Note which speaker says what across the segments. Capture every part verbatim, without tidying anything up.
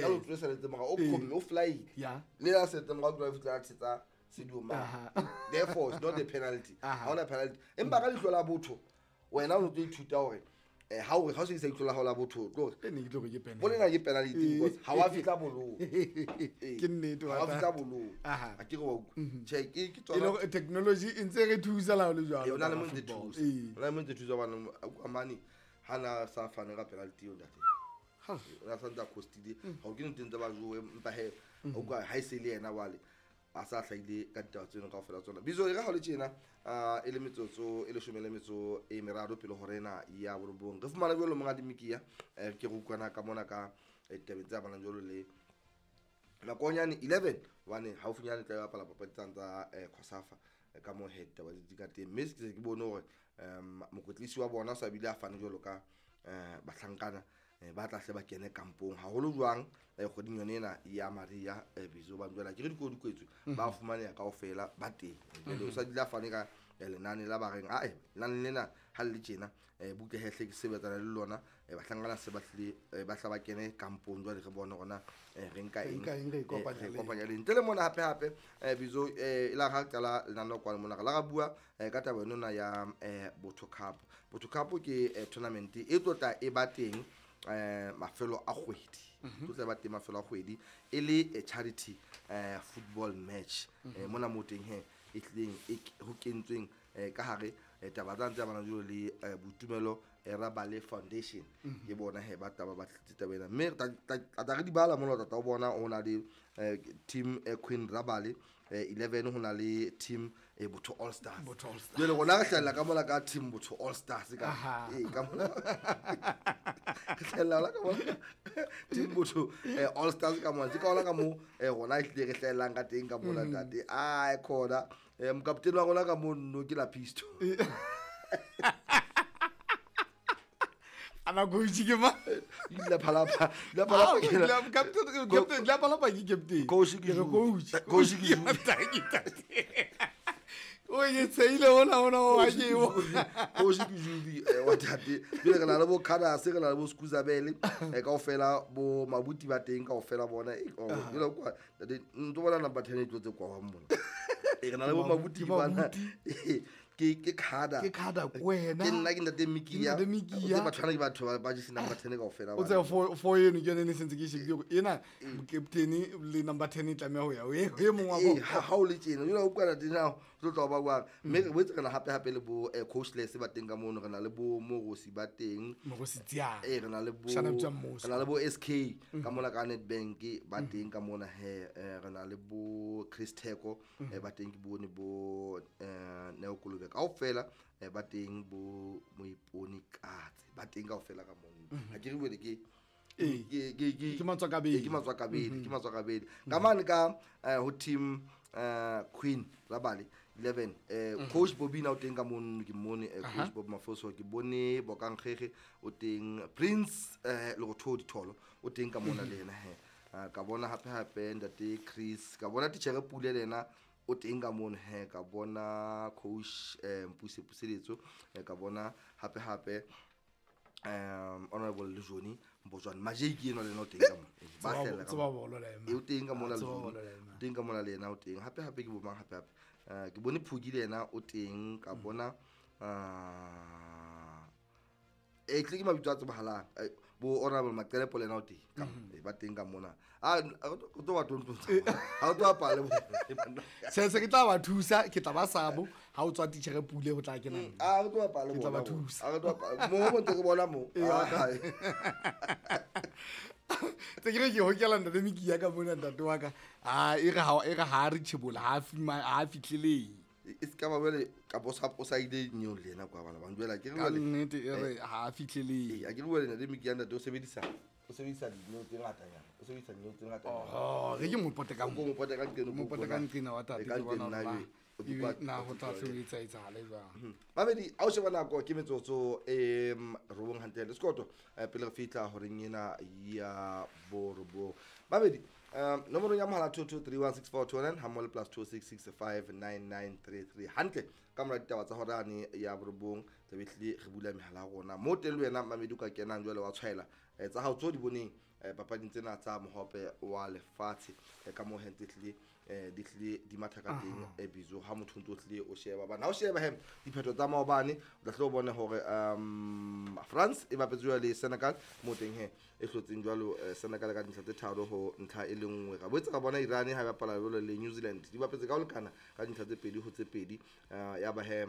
Speaker 1: Ka lo tlo saletse mora o khomme o fly. Le la setse mora o tlo fitla tsetsa Sadio Mane. Therefore it's not a penalty. Ha ona penalty. Empa ka leihlo la botho wena o tlo ithuta hore eh ha o ha o sebedisa leihlo la hao la botho tlo re
Speaker 2: ne ke tlo re ke penalty.
Speaker 1: Bolena ke penalty because ha wa fitla bolong.
Speaker 2: Ke nnete
Speaker 1: wa fitla bolong. A ke re wa utlwa. Che ke ke
Speaker 2: tsona. E le technology e ntse re thusa la le jwalo.
Speaker 1: E ona le mo ntse thusa. Ona le mo ntse thusa bana Amani hana sa fane ka penalty eo ntate.
Speaker 2: Ha
Speaker 1: ona sa ntsa costile ha o ke ntse ntse ba jowe empa he o kwa ha e se le yena wale a sa hlahile ka ditaba tseno kaofela tsona. Bizo e re ha le tjena e le metsotso e leshome le metso e meraro pele hore ena ya borobong re fumana jwalo monga Dimikia ke re utlwana ka mona ka ditabeng tse amanang jwalo le nakonyane eleven hobane haufinyane tla bapala papadi tsa COSAFA ka mo head taba di ka teng mme ke ke bone hore mokwetlisi wa bona o sa bile a fane jwalo ka bahlankana ba tla hle ba kene kampong haholo jwang kgweding yone ena ya Maria Bizo ba njwela ke re dikolo di kwetswe ba fumaneha kaofela ba teng jwale o sa dila fane ka lenane la ba reng a e lenane lena ha le tjena butle hehle ke sebetsana le lona bahlankana se ba hlile ba hla ba kene kampong jwale re bone rona re nka eng
Speaker 2: re
Speaker 1: kopanya le ntle le mona hape hape Bizo e la ha qala lenane kwa mona la ra bua ka taba yona ya Botho Cup. Botho Cup ke tournament e tlotla e ba teng eh mafelo a kgwedi tlotla ba teng mafelo a kgwedi e le charity eh football match mona mo teng he e tleng e ho kentsweng ka hare taba tsa ntse bana jolo le Boitumelo Rabale Foundation ke bona he ba taba ba tlitse taba ena mme tla re di bala mona tata o bona o na le team Queen Rabale eleven ho na le team Botho All Stars. Jwale rona re hlahella ka mola ka team Botho All Stars ka eh ka mola re hlahella ka mola team Botho All Stars ka mola ke ka ona ka mo rona e tlile re hlahellang ka teng ka mola tate a khona mokaptene wa rona ka mo nno ke la pisto
Speaker 2: ana coach ke ma
Speaker 1: la palapa la palapa
Speaker 2: ke la captain captain la palapa ke captain
Speaker 1: coach ke
Speaker 2: coach
Speaker 1: coach ke
Speaker 2: o ye tseile ona ona wa ke o
Speaker 1: coach ke Jubi wa tate pele re na le bo Khadas re na le bo Skuzabele kaofela bo Mabuti ba teng kaofela bona e le kwa tate ntlo bona number ten e tlotse kwa wa mona e re na le bo Mabuti bana ke ke khada
Speaker 2: ke khada kwena
Speaker 1: ke nna ke ntate Mikia ke batho bana ke batho ba ba number ten kaofela
Speaker 2: o tse for for eno ke ne sentse ke shebile hore ena captain le number ten e tlameha ho ya o e mong wa
Speaker 1: bo ha o le tjena jwale o kwana tena o tlo tla ba bua mme re boetse re na hape hape le bo coachless ba teng ka mono re na le bo Morosi ba teng
Speaker 2: Morosi Tsia
Speaker 1: eh re na le bo re na le bo S K ka mona ka Nedbank ba teng ka mona he re na le bo Chris Theko ba teng ke bone bo Neo Kolobe kaofela ba teng bo Moiponi Katse ba teng kaofela ka mono ha ke re bone ke ke ke
Speaker 2: ke matswakabedi
Speaker 1: ke matswakabedi ke matswakabedi ka mane ka ho team Queen Rabale eleven coach Bobina o teng ka mono ke mmone coach Bob Mafoso ke bone Bokankgege o teng Prince Lerothodi Tholo o teng ka mona le yena he ka bona hape hape ntate Chris ka bona titjhere Pule le yena o teng ka mono he ka bona coach Mpuse Puseletso ka bona hape hape um honorable Lejoni Mbojwane Majeki eno le ena o teng ka mona ba hlella ka
Speaker 2: mona
Speaker 1: o teng ka mona le teng ka mona le yena o teng hape hape ke bo mang hape hape ke bone Phuki le yena o teng ka bona e tle ke mabitso a tsebahalang bo honorable Maqelepo le yena o teng ka ba teng ka mona a o tlo ba tontontsha ha o tlo bapala le bona
Speaker 2: se se ke tla ba thusa ke tla ba sabo ha o tswa titjhere Pule ho tla kena
Speaker 1: a o tlo bapala le
Speaker 2: bona ke tla ba thusa
Speaker 1: a o tlo bapala mo mo ntse ke bona mo
Speaker 2: tse ke re ke hokela ntate Mikia ka mona ntate wa ka a e re ha e re ha re tshebola ha ha fitlheleng
Speaker 1: e ska ba bele ka bo sa o sa ile nyo le yena kwa bana ba njwela ke re
Speaker 2: ka nnete e re ha fitlheleng
Speaker 1: a ke re bua le ntate Mikia ntate o sebedisa o sebedisa dineo tse ngata nyana o sebedisa dineo tse ngata
Speaker 2: oh re ke mo pote ka
Speaker 1: mo pote ka nqeno
Speaker 2: mo pote ka nqena wa tate ke bona na ho tla sebetsa etsahale jwang
Speaker 1: Mamedi a o sheba nako ke metsotso e robong hantle le sekoto pele re fihla horeng ena ya borobong Mamedi um nomoro ya mohala two two three one six four two nine ha mole plus two six six five nine nine three three hantle ka mora ditaba tsa horane ya borobong tlabe tle re bula mehala ya rona mo teng le wena Mamedi o ka kenang jwale wa tshwaela tsa hao tso di boneng papading tsena tsa mohope wa lefatshe ka mo hentse tlile di tlile di matha ka teng e bizo ha motho ntso tlile o sheba bana ha o sheba hem diphetho tsa maobane o tla tlo bona hore um France e bapetse le Senegal mo teng he e hlotseng jwalo Senegal ka dintlha tse tharo ho ntlha e le nngwe ra boetse ra bona Iran ha ba bapala jwalo le New Zealand di bapetse ka ho lekana ka dintlha tse pedi ho tse pedi ya ba he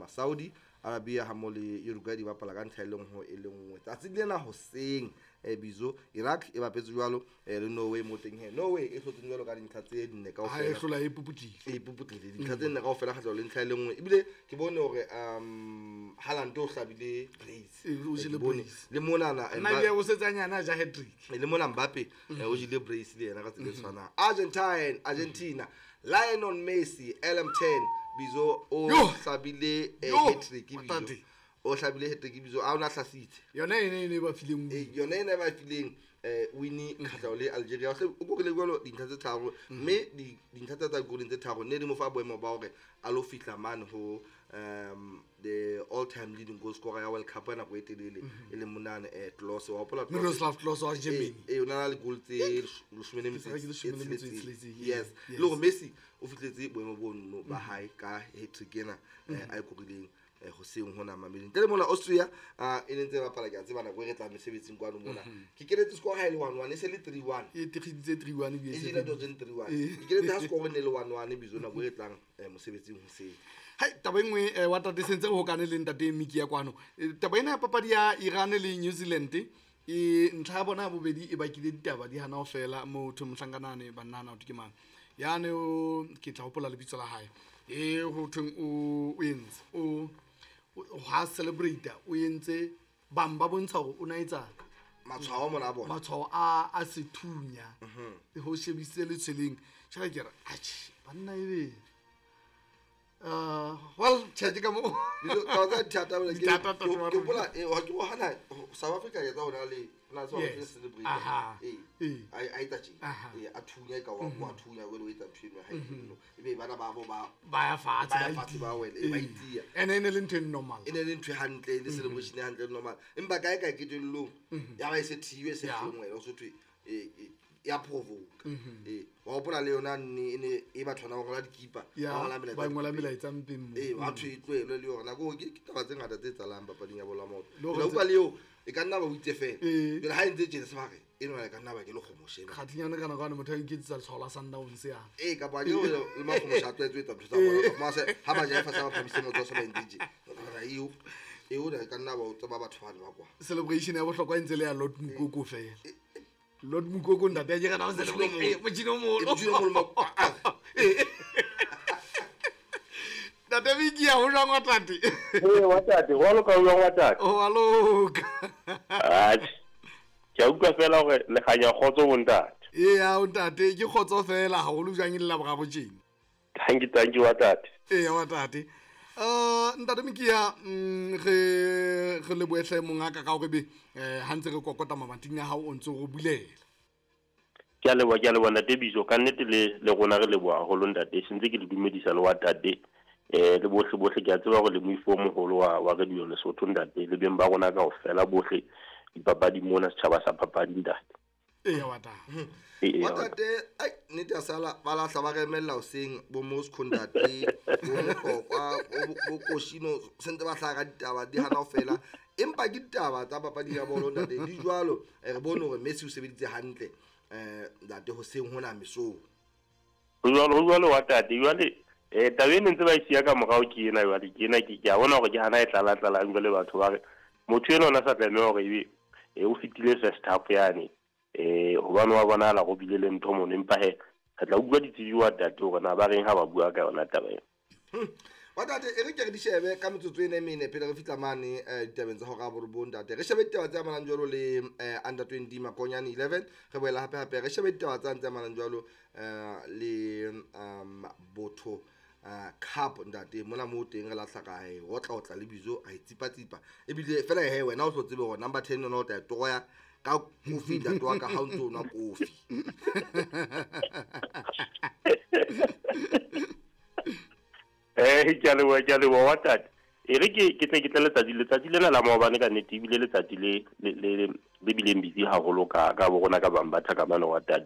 Speaker 1: Saudi Arabia ha mo le Uruguay di bapala ka ntlha e leng ho e le nngwe tsatsi lena hoseng e bizo Iraq e bapetse jwalo le Norway mo teng he Norway e hlotseng jwalo ka dintlha tse nne kaofela
Speaker 2: ha e hlola e puputlile
Speaker 1: e puputlile dintlha tse nne kaofela kgahlano le ntlha e le nngwe ebile ke bone hore um Haaland o hlabile brace
Speaker 2: o jele brace
Speaker 1: le monana
Speaker 2: nna le o setsanyana ja hat-trick
Speaker 1: le mona Mbappe o jele brace le yena ka tsela e tshwanang Argentine Argentina Lionel Messi L M ten bizo o hlabile hat-trick bizo o hlabile hat-trick bizo a ona hlasitse
Speaker 2: yona ene ene ba fileng
Speaker 1: e yona ene ba fileng eh wini kgahlano le Algeria o korile jwalo dintlha tse tharo mme dintlha tsa tsa korileng tse tharo ne di mo fa boemo ba hore a lo fihla mane ho um the all time leading goal scorer ya World Cup nako e telele e leng monane eh Klose wa hopola
Speaker 2: Miroslav Klose wa Germany
Speaker 1: e o na le goal tse leshome le metso e yes le hore Messi o fihletse boemo bono ba hae ka hat-trick ena a e korileng hoseng hona mameleng ntle le mona Austria e ne ntse ba bapala ke a tseba nako e re tla mesebetsing kwano mona ke keletse score ha e le one one e se le three one
Speaker 2: e tigiditse three one
Speaker 1: e jile dozen three one ke keletse ha score ne le one one bizo nako e re tlang mosebetsing hoseng
Speaker 2: hai taba e nngwe wa tate sentse re hokane le ntate Miki ya kwano taba ena ya papadi ya Iran le New Zealand e ntlha ya bona ya bobedi e bakile ditaba di hana ho fela motho mohlankanane bannana o ke mang yane o ke tla hopola lebitso la hae e ho thweng o o entse o ha celebrate o entse bang ba bontsha hore o na etsa
Speaker 1: matshwao mona a bona
Speaker 2: matshwao a a sethunya ho shebisitse le tshweleng tjela ke re atjhe banna ebe uh well tjhe ka mo
Speaker 1: tsa thata bole ke ke hopola e ha ke hana South Africa ya tsa hona le na South Africa celebrate eh ai ai tsa tje eh a thunya ka wa wa thunya wele o etsa ntho eno ha eno ebe bana ba bo ba
Speaker 2: ba ya fatshe
Speaker 1: ba fatshe ba wele e ba itia
Speaker 2: ene ene le ntho e normal
Speaker 1: ene le ntho e hantle le celebration e hantle normal empa kae kae ke tellong ya ba e se thiwe se hlongwe o se thwe e ya provoke eh wa hopola le yona nne ene e batho bana ba ngola dikipa ba ngola melaetsa
Speaker 2: ba ngola melaetsa mpeng mo
Speaker 1: eh batho e tlohelo le yona go ke taba tse ngata tse tsalang papading ya bolo ya maoto le utlwa le eo e ka nna ba o itse fela jwale ha e ntse tjena se ba re eno e ka nna ba ke le kgomoshe
Speaker 2: kgathinyana kana kana motho a iketsetsa letshwao la Sundowns ya
Speaker 1: eh kapa ke le makgomoshe a tlwaetse ho etsa ntho tsa bona mase ha ba jaefa sa ba phamise motho sa ba entse tje eo eo e ka nna ba o tseba batho ba ba kwa
Speaker 2: celebration ya bohlokwa e ntse le ya Lord Mukoko fela Lord Mukoko ntate a ke rata ho celebrate motjhini o moholo
Speaker 1: motjhini o moholo
Speaker 2: Ntate Miki ya ho jwang wa tate
Speaker 3: eh wa tate wa loka wa wa tate
Speaker 2: o wa loka
Speaker 3: atjhe ke a utlwa fela hore le kganya kgotso bo ntate
Speaker 2: ee ya o ntate ke kgotso fela haholo jwang e le la boraro tjena
Speaker 3: thank you thank you wa tate
Speaker 2: ee wa tate uh ntate Miki ya re re leboehle mongaka ka hore be ha ntse re kokota mamating a hao o ntse o bulela
Speaker 3: ke a leboha ke a leboha ntate Bizo ka nnete le le rona re leboha haholo ntate sentse ke le dumedisa le wa tate eh le bohle bohle ke a tseba hore le moifo o moholo wa wa Radio Lesotho ntate le beng ba rona kaofela bohle dipapadi mona setjhaba sa papadi ntate
Speaker 2: ee wa tate
Speaker 1: wa tate ai nnete ya sala ba lahla ba remella hoseng bo Moscow ntate bo Motlokwa bo Koshino sentse ba hlaha ka ditaba di hana ho fela empa ke ditaba tsa papadi ya bolo ntate di jwalo re bone hore Messi o sebeditse hantle eh ntate hoseng hona mesong
Speaker 3: ho jwalo ho jwalo wa tate jwale eh taba ene ntse ba e siya ka morao ke ena jwale ke ena ke a bona hore ke hana e tlala tlalang jwale batho ba re motho ena ona sa tlameha hore ebe e o fetile first half yane eh hobane wa bona la go bile le ntho mono empa he re tla utlwa ditsebi wa tate hore na ba reng ha ba bua ka yona taba ena
Speaker 1: wa tate e re ke re di shebe ka metsotso ena e mene pele re fihla mane ditabeng tsa hora borobong ntate re shebe ditaba tse amanang jwalo le under twenty Makonyane eleven re boela hape hape re shebe ditaba tsa tse amanang jwalo le Botho Cup ntate mona mo teng re lahla ka e otla otla le bizo a itsipa tsipa ebile fela he wena o tlo tsebe hore number ten yona o tla e toroya ka kofi ntate wa ka ha o ntso nwa kofi
Speaker 3: eh ke a leboha ke a leboha wa tate E re ke ke tle ke tle letsatsi letsatsi lena la maobane ka nnete ebile letsatsi le le le le bileng busy haholo ka ka bo rona ka Bambatha ka mane wa tate.